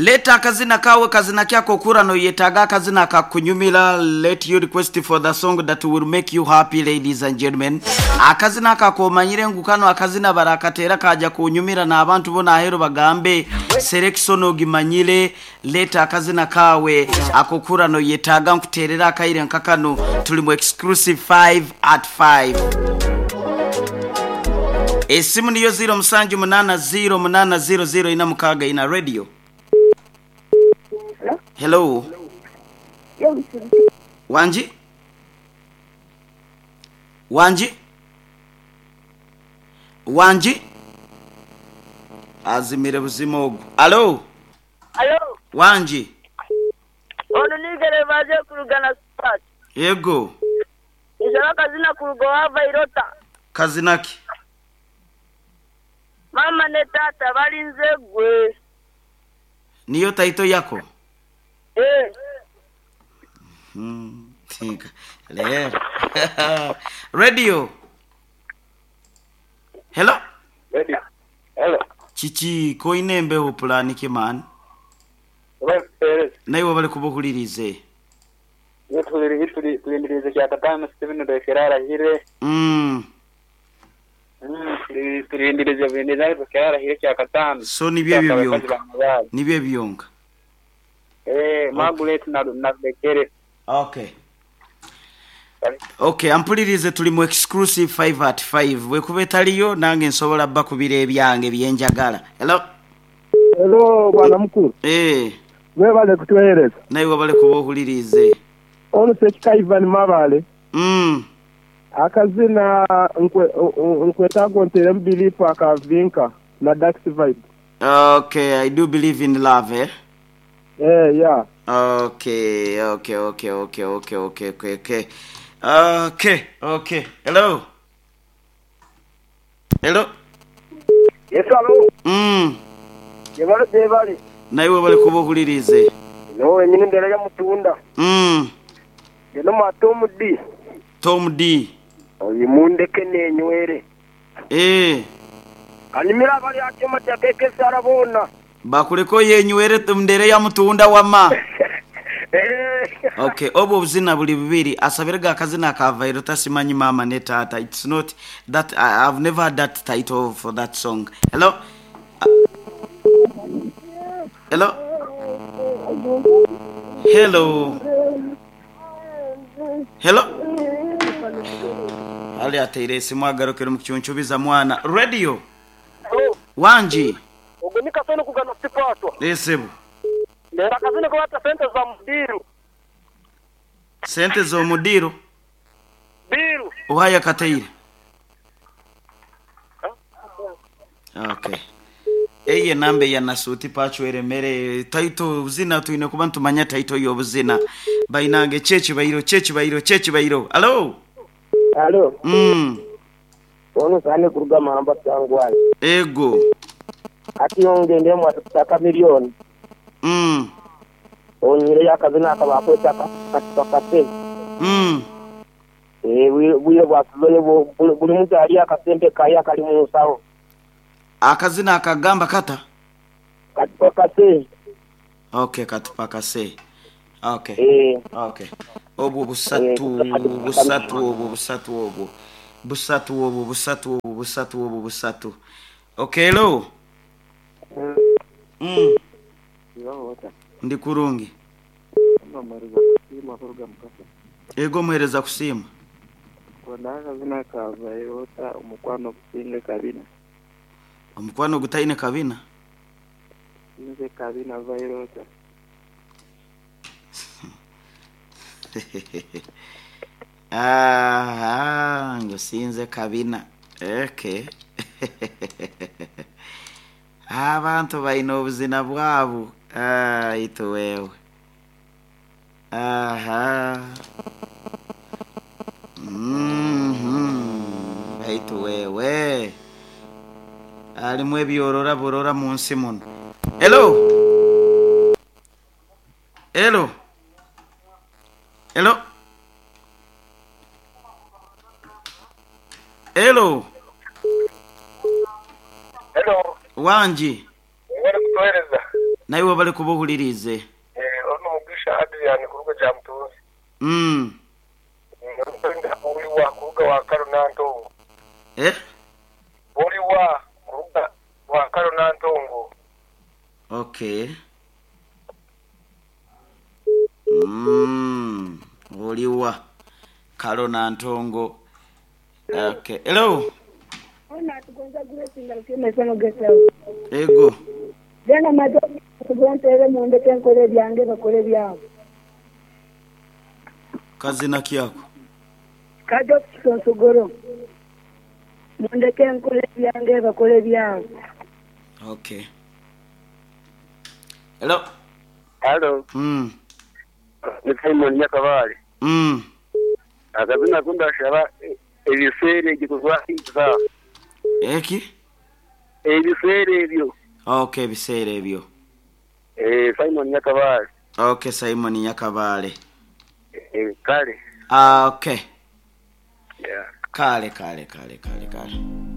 Leeta akazina kaawe kazina ki ak'okuhurra noyetaaga akazina akakunyumira Let you request for the song that will make you happy ladies and gentlemen Akazina ako akomanyire ngu kano akazina barakateera kaja kunyumira n'abantu bona aheeru bagambe Selection ogimanyire Leeta akazina kaawe ak'okuhurra noyetaaga nkuteerere akaire nka kanu Tuli mu exclusive 5 at 5 Esimu niyo ziiro musanju munaana ziiro munaana ziiro ziiro ina mukaaga ina Radio. Hello. Wangi? Wangi? Wangi? Azimire buzima ogwo. Alo. Alo. Wangi? Ono ni Gerevaze kuruga Nasipati. Yego. Nshaba akazina kuruga owa Vairota. Kazina ki? Maama ne taata balinze gwe. Niyo taito yako? Eeh. Leero. Radio. Hello. Radio. Hello. Kiki koine embeho pulani ki man? Webale kutuhereza. Naiwe webale kuba ohuririize. Itwe turi tulindiriize kyakataano Steven Rwekera arahire. Mm. Tulindiriize bulindiriize Rwekera arahire kyakataano. So nibyo ebyo byonka. Nibyo ebyo byonka. Eh, Margaret na na Rwekere. Okay. Okay, ampulirize tuli mu exclusive 5 at 5. Bwekuba etaliyo nange nsobola bakubira ebyange byenjagala. Hello. Hello bwana mukulu. Eh. Webale kutuwereza. Naiwe webale kuba ohuliriize. Ono Ssekika Ivan Mabale. Mm. Akazina nkwetaaga onteremu Belief aka Vinka na Dax Vibe. Okay, I do believe in love eh? Eh, yeah. Okay, okay, okay, okay, okay, okay, okay, okay. Okay, okay. Hello. Hello. Yes, alo. Mm. Yebale gyebale. Naiwe webale kuba ohuliriize. Niwe wenyini embeera y'amutunda. Mm. Ndi n'omwa Tom D. Tom D. Oyo mundeke nenywere. Eeh. Kanyumire abari aha kyoma kya KKSR boona. Bakureke oyenywere ndere yamutunda wama. Ok obwo obuzina buli bubiri asabire ga akazina aka Vairota simanyi maama ne taata it's not that I have never heard that title for that song. Hello Hello Hello Hello Ali ateire esimu agarukire omu kucuncubiza mwana. Radio Wangi. Ogwo ni Kasoni kugana Sikwatwa. Ee sebo. Ndenda akazina aku baata Sente za mu diiru. Sente z'omu diiru? Diiru. Oha yakataire? Okay. Eyo enamba eya Nasuuti Pacho eremere. Title obuzina twine kuba nitumanya title y'obuzina. Bainange ki ekibairo ki ekibairo ki ekibairo. Hallo? Halo. Mm. Ono Sane kuruga Mamba Kyangwali. Ego. Hati nyowe ngyendire mwataka Chameleone. Mm. Onyireyo akazina aka baakweta Katiba Kase. Mm. Eh, bwire bwa sizoni buli muntu alye akasente kaye akali mu nsawo. Akazina akagamba kata? Katupakase. Ok, katupakase. Ok. Eh. Ok. Obwo busatu, busatu obwo, busatu obwo. Busatu obwo, busatu obwo, busatu obwo, busatu. Ok, hello. Mm. Ndi kurungi. Ego muhereza kusiima. Omukwano ogutaine kabina? Nze kabina vairota. Aha, ngu sinze kabina. Okay. Abantu baine obuzina bwabo. Ah, itwe wewe. Aha. Mhm. Baitu wewe. Harimu ebyorora burora mu nsi muno. Hello. Hello. Hello. Hello. Hello. Wangi. Webale kutuhereza. Naiwe webale kuba ohuliriize. Eh, ono Mugisha Adrian kuruga Kyamutunzi. Orikwenda oli wa kuruga Wankaro Nantongo? Eh? Oli wa kuruga Wankaro Nantongo? Okay. Oli wa Kalo Nantongo. Okay. Hello. Ono atugonza Grace nga Lukyemesano Guest House. Ego. Then amaze okugontere mundeke nkole ebyange bakole byabo. Kazina kyako. Kajo kisonsogoro. Mundeke nkole ebyange bakole byabo. Okay. Hello. Halo, ni Simon Nyakabale. Akazina kundashaba ebiseera ebyo kuva iza. Eki? Ebiseera ebyo. Okay, ebiseera ebyo. Eh, Simon Nyakabale. Okay, Simon Nyakabale. Eh, kale. Ah, okay. Yeah. Kale kale kale kale kale.